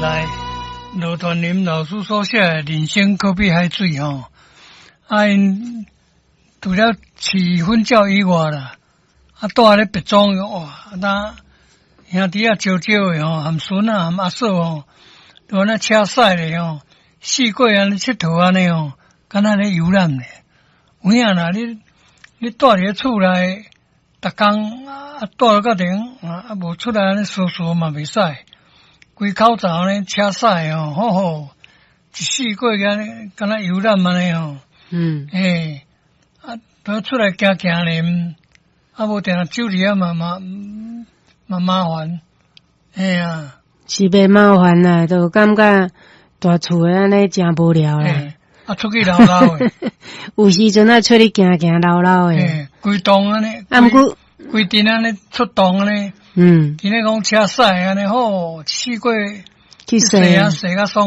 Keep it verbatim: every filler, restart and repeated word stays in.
來，羅傳林老師所寫的《人生可比海水》吼，啊𪜶除了飼粉鳥以外啦，啊蹛咧別莊哇，啊那兄弟仔少少的吼，含孫仔含阿嫂吼，都按呢車駛咧吼，四界按呢𨑨迌按呢吼，敢若咧遊覽咧。有影啦，你你蹛佇咧厝內，逐工啊蹛到頂啊啊無出來按呢趖趖嘛袂使。規口罩按呢車駛吼，好好，一四界按呢敢若遊覽按呢吼。嗯。嘿，啊，都出來行行咧，啊無定定守佇遐嘛嘛嘛麻煩，嘿啊。是袂麻煩啦，就感覺蹛厝的按呢誠無聊啦。啊，出去溜溜的。有時陣啊，出去行行溜溜的。嘿，規棟按呢。啊，毋過規陣按呢出動按呢。嗯。今日講車駛按呢好，四界去踅啊，踅較爽。